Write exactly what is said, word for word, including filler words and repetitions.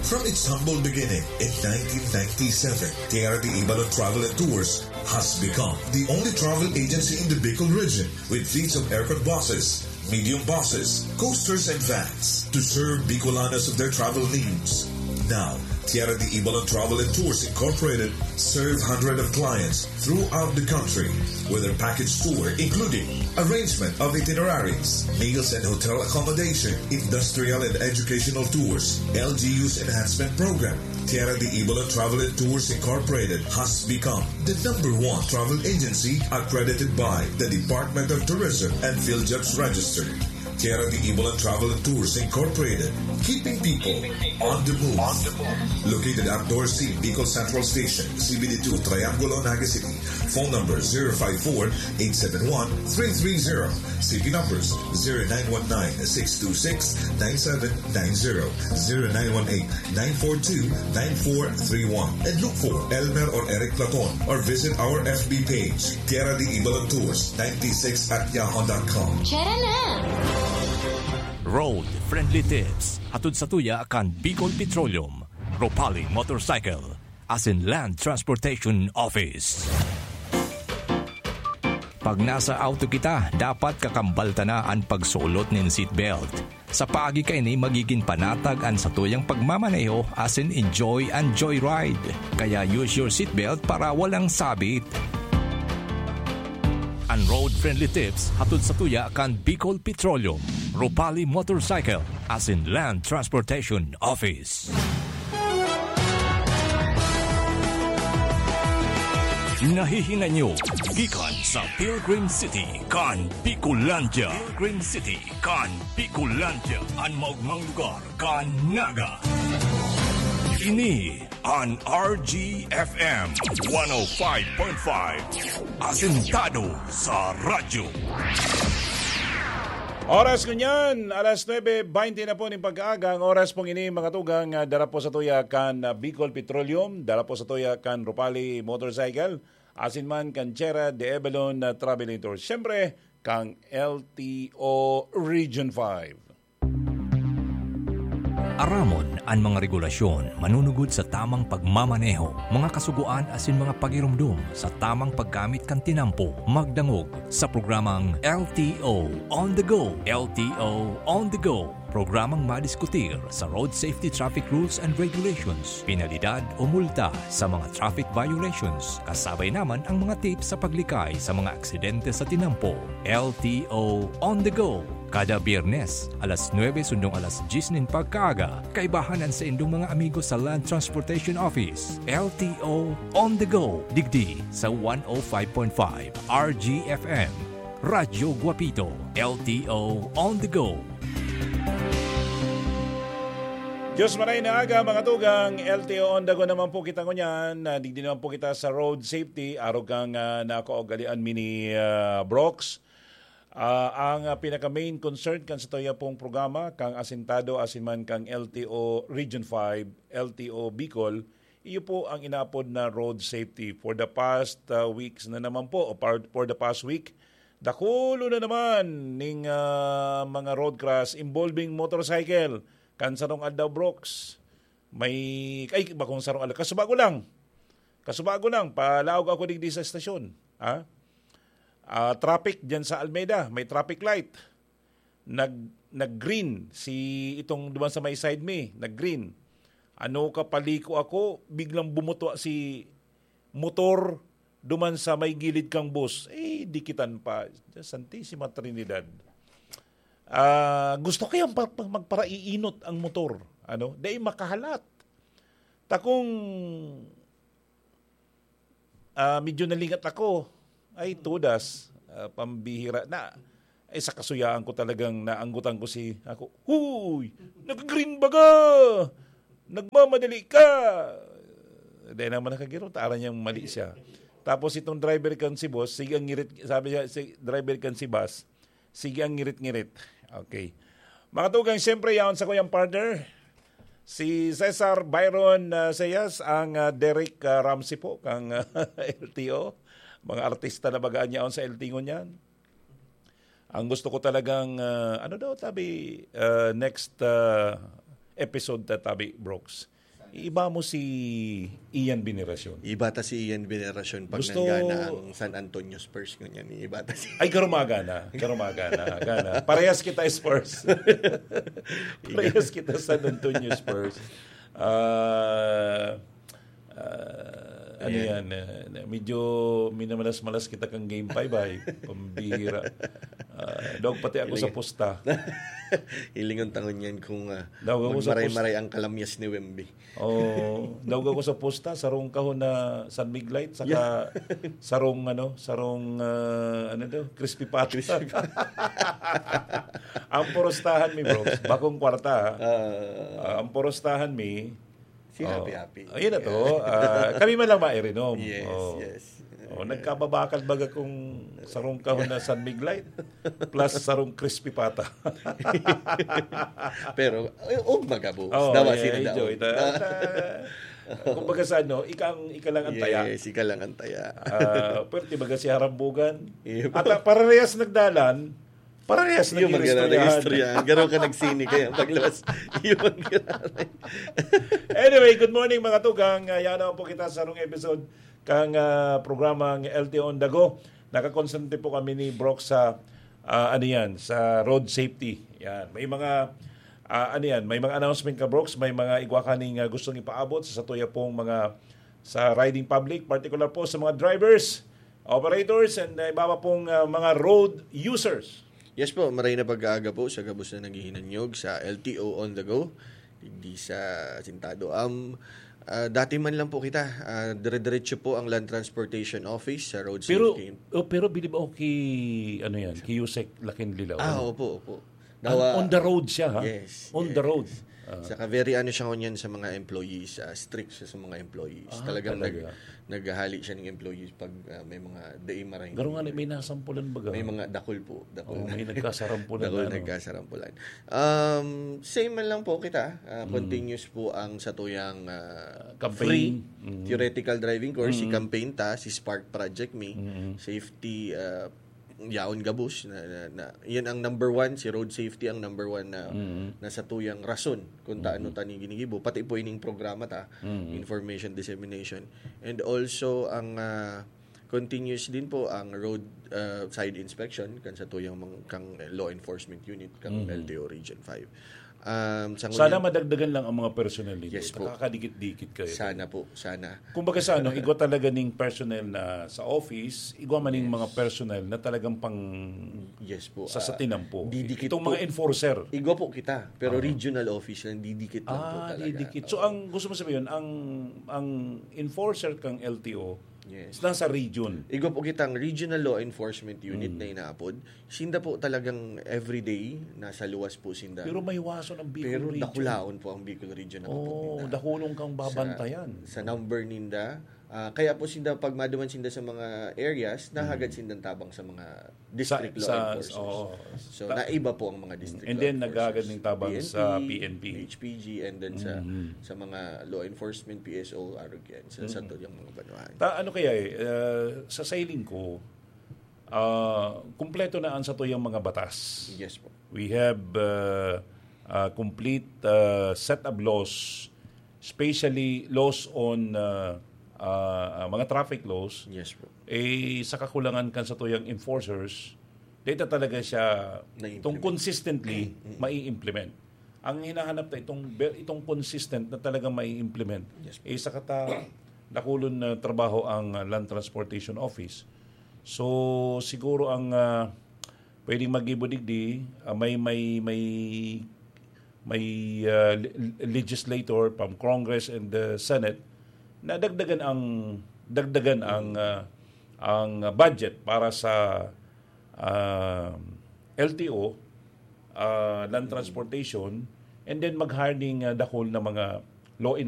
From its humble beginning in nineteen ninety-seven, Tierra de Ibalon Travel and Tours has become the only travel agency in the Bicol region with fleets of aircraft buses, medium buses, coasters, and vans to serve Bicolanos of their travel needs. Now, Tierra de Ibalon Travel and Tours Incorporated serve hundreds of clients throughout the country with their package tour, including arrangement of itineraries, meals and hotel accommodation, industrial and educational tours, L G U's enhancement program. Tierra de Ibalon Travel and Tours Incorporated has become the number one travel agency accredited by the Department of Tourism and PhilJobs Registered. Tierra de Ibalon Travel and Tours Incorporated, keeping people on the move. Located at Dorsey, Bicol Central Station, C B D two, Triangulo, Naga City. Phone number zero five four, eight seven one, three three zero. C P numbers zero nine one nine, six two six, nine seven nine zero, zero nine one eight, nine four two, nine four three one. And look for Elmer or Eric Platon or visit our F B page, Tierra de Ibalon Tours ninety-six at yahoo dot com. Tara na! Road Friendly Tips, hatod sa tuya kan Bicol Petroleum, Ropali Motorcycle, asin Land Transportation Office. Pag nasa auto kita, dapat kakambal ta na an pagsulot nin seatbelt. Sa paagi kaini, magigin panatag an satuyang pagmamaneho asin enjoy an joyride. Kaya use your seatbelt para walang sabit. An road-friendly tips hatod sa tuya kan Bicol Petroleum, Ropali Motorcycle, asin Land Transportation Office. Nahihinay nyo gikan sa Pilgrim City kan Bicolandia. Pilgrim City kan Bicolandia, an maogmang lugar kan Naga. Ini an R G F M one oh five point five, asentado sa radyo. Oras ngunyan, alas nuebe baynte na po nin pagkaaga. Ang oras pong ini, mga tugang, ah, dara po sa tuya kan, ah, Bicol Petroleum, dara po sa tuya kan Ropali Motorcycle, asin man kan Tierra de Ibalon, ah, Travel and Tours. Siyempre, kan L T O Region five. Aramon an mga regulasyon manunugod sa tamang pagmamaneho, mga kasugoan asin mga pagiromdom sa tamang paggamit kan tinampo. Magdangog sa programang L T O On The Go. L T O On The Go, programang madiskutir sa road safety traffic rules and regulations, penalidad o multa sa mga traffic violations, kasabay naman ang mga tips sa paglikay sa mga aksidente sa tinampo. L T O On The Go, kada Biyernes, alas nuebe sundong alas dyes nin pagkaaga. Kaibahan an saindong mga amigo sa Land Transportation Office. L T O On The Go, digdi sa one oh five point five R G F M. Radyo Guapito, L T O On The Go. Diyos maray na aga, mga tugang, L T O On The Go naman po kita ngunyan. Ah, digdi naman po kita sa road safety. Arog kang, ah, nakaugalian mi ni, ah, Brox. Ah, ang, ah, pinaka-main concern kan sa tuya pong programa, kang asentado asin man kang L T O Region five, L T O Bicol, iyo po ang inaapod na road safety. For the past, ah, weeks na naman po, o par-, for the past week, dakulo na naman ning, ah, mga road crash involving motorcycle. Kan sarong aldaw, Brox, may, ay, bakong sarong aldaw, kasubago lang. Kasubago lang, palaog ako digdi sa estasyon. Ha? Ah, traffic dyan sa Almeda, may traffic light. Nag, nag-green si itong duman sa may side mi, nag-green. Ano ka, paliko ako, biglang bumutwa si motor duman sa may gilid kang bus. Eh, dikitan pa. Santissima Trinidad. Ah, gusto kayang pa-, pa-, magparaiinot ang motor. Ano? Dai makahalat. Takong, ah, medyo nalingat ako. Ay, tudas. Ah, pambihira na. Eh, sa kasuyaan ko talagang naanggutan ko si, ako, "Huy! Nag-green baga! Nagmamadali ka!" Dahil naman nakagirot, aram niyang mali siya. Tapos itong driver kan si boss, sige ang ngirit, sabi niya, si driver kan si boss, sige ang ngirit-ngirit. Okay. Mga tugang, siyempre, yaon sa kuyang partner, si Cesar Byron, ah, Zayas, ang, ah, Derek, ah, Ramsey po, kang, ah, L T O. Mga artista na baga an yaon sa L T O ngunyan. Ang gusto ko talagang, ah, ano daw, tabi, ah, next, ah, episode ta, tabi, Brooks. Iba mo si Ian Veneracion. Iba ta si Ian Veneracion pag Gusto- nanggana ang San Antonio Spurs, ngunyan, iba ta si Ay, garumaga na. Garumaga na. Gana. Parehas kita Spurs. Parehas kita San Antonio Spurs. Ah, ah, ano Ayan. yan? eh, medyo minamalas-malas kita kang game five ay. Pambihira. Ah, dog pati ako sa Iling- pusta. Ilingon tangon yan kung uh, Daw ako sa magmaray-maray ang kalamyas ni Wemby. Oh, daw ako sa pusta, sarong kahon na San Mig Light, saka sarong ano, sarong ah, ano daw, crispy patty. Ang purustahan mi, bro, bakong kwarta, ha? Ah, Ah, ang purustahan mi, si oh, Happy Happy. Ayun na to. Ah, kami man lang mairinom. Yes, Oh. yes. Oh, nagkababakal baga kung sarong kahon na San Mig Light plus sarong crispy pata. Pero, eh, og magabo. Oh, Dawa yeah, sila enjoy. daw. Ta- ta- Kumbaga sa ano, ika, ang, ika lang ang taya. Yes, ika lang ang taya. Ah, pwerte baga si Harambugan. Yep. At ah, parehas nagdalan, parehas Yung magkano nag-istoryahan. istorya. Garo ka nagsini kaya paglabas. Yung magkano. Anyway, good morning mga tugang. Uh, yan naman po kita sa sarong episode kang ah, programang L T O on the Go. Nakakonsentrate po kami ni Brock sa ah, ano yan, sa road safety. Yan. May mga ah, ano yan, may mga announcement ka, Brooks, may mga igwa ka ning ah, gustong ipaabot sa satuya pong mga sa riding public, particular po sa mga drivers, operators, and uh, iba pa pong ah, mga road users. Yes po, maray na pag-aaga po sa gabos na naghihinanyog sa L T O on the go. Digdi sa Sintado. Um, ah, dati man lang po kita, ah, dire-diretso po ang Land Transportation Office sa Road Pero Safety. Oh, pero bilib ako ki ano yan, ki Yusek Lakinlilaw. Ah, opo, opo. Ang on the road siya, ha? Yes, On yes. The road. Ah. Saka very ano siya ngunyan sa mga employees, ah, strict siya sa mga employees. Ah, Talagang talaga? nag, naghahali siya ng employees pag ah, may mga day maray. Garo nga ni, may nasampulan baga. May mga dakul po. Dakul Oh, na. May nagkasarampulan Dakul na, no? nagkasarampulan. Um, same man lang po kita. Ah, Continuous po ang satuyang ah, Campaign. free Mm. theoretical driving course. Si Mm. campaign ta, si Spark Project Me, Mm. safety ah, yaon gabos na, na, na, yan ang number one, si road safety ang number one na Mm. na satuyang rason kung taano ta ning ginigibo, pati po ining programa ta, Mm. information dissemination, and also ang ah, continuous din po ang road ah, side inspection kan satuyang mga kang law enforcement unit kang Mm. L T O Region five. Um, sa Sana ngunyan- madagdagan lang ang mga personnel nito. Yes po. Nakakadikit-dikit kayo. Sana po, sana. Kumbaga sa ano, igwa talaga ning personnel na sa office, igwa man ning Yes. mga personnel na talagang pang Yes po. sa ah, satinampo. didikit Itong po. mga enforcer. Igwa po kita, pero Ah. regional office lang, didikit lang po Ah, talaga. didikit. So, ang gusto mo sabihin, ang ang enforcer kang L T O Yes. is nasa region. Igwa po kitang regional law enforcement unit Mm. na inaapod. Sinda po talagang everyday, nasa luwas po sinda. Pero mahiwason ang Bicol Pero region. Dakulaon po ang Bicol region na kapot Oh, ninda. Dakulong kang Sa- babantayan. Sa number ninda, ah, kaya po sinda pag maduman sinda sa mga areas, nahagad sindang tabang sa mga district Sa- law sa- enforcers. Oo. So, Ta- naiba po ang mga district And law then, enforcers. naghahagad ng tabang sa P N P. H P G, and then sa Mhm. sa mga law enforcement, P S O, arog yan, sa, sa tuyang mga banwahan. Ta, ano kaya eh, uh, sa sailing ko, uh, kumpleto na ang satuyang mga batas. Yes po. We have uh, a complete uh, set of laws, especially laws on uh, uh, mga traffic laws. Yes po. Eh, sa kakulangan kan satuyang enforcers, data talaga siya Na-implement. itong consistently mai-implement. Ang hinahanap ta itong be- itong consistent na talaga mai-implement. Yes po. Eh, sa kata dakulon na trabaho ang uh, Land Transportation Office. So siguro ang uh, pwedeng magibo digdi, uh, may may may may uh, le- legislator from Congress and the Senate na dagdagan ang dagdagan ang uh, ang budget para sa uh, L T O, uh, land transportation, and then mag-hire ning uh, dakul na mga law